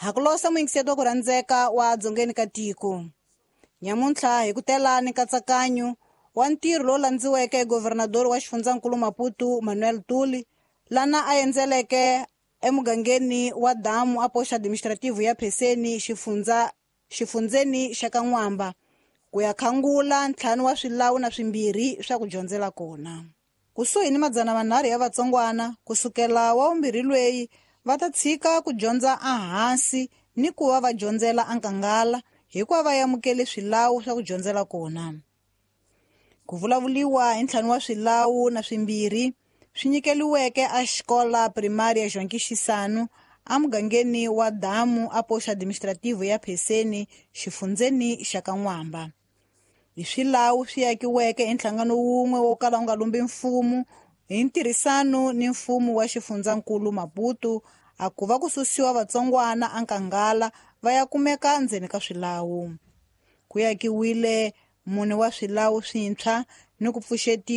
Ha ku losa muyingiseti wa ku rhandzeka wa dzongeni ka tiko. Nyamuntlha hi ku tela ni nkatsakanyo wa ntirho lowu landziweke hi governador wa xifundzankulu Maputo Manuel Tuli, lana a endzeleke emugangeni wa Damu a poxa administrative ya Pheseni xifundzeni xa ka N'wamba ku ya khangula 5 wa swilawu na 2 swa ku dyondzela kona. Kusuhi ni 300 ya vatsongwana kusukela wa 2 lweyi va ta tshika ku dyondza ehansi ni ku va va dyondzela enkangala hikuva va amukele swilawu swa ku dyondzela kona. Ku vulavuliwa hi 5 wa swilawu na 2 swi nyikeliweke a xikola primary ya Joaquim Chissano emugangeni wa Damu a poxa administrative ya Pheseni xifundzeni xa ka N'wamba. Hi swilawu swi akiweke hi nhlangano wun'we wo kala wu nga lumbi mfumo hi ntirhisano ni mfumo wa xifundzankulu Maputo, a ku va ku susiwa vatsongwana enkangala va ya kumeka ndzeni ka swilawu. Ku akiwile 4 wa swilawu swintshwa ni ku pfuxetiwa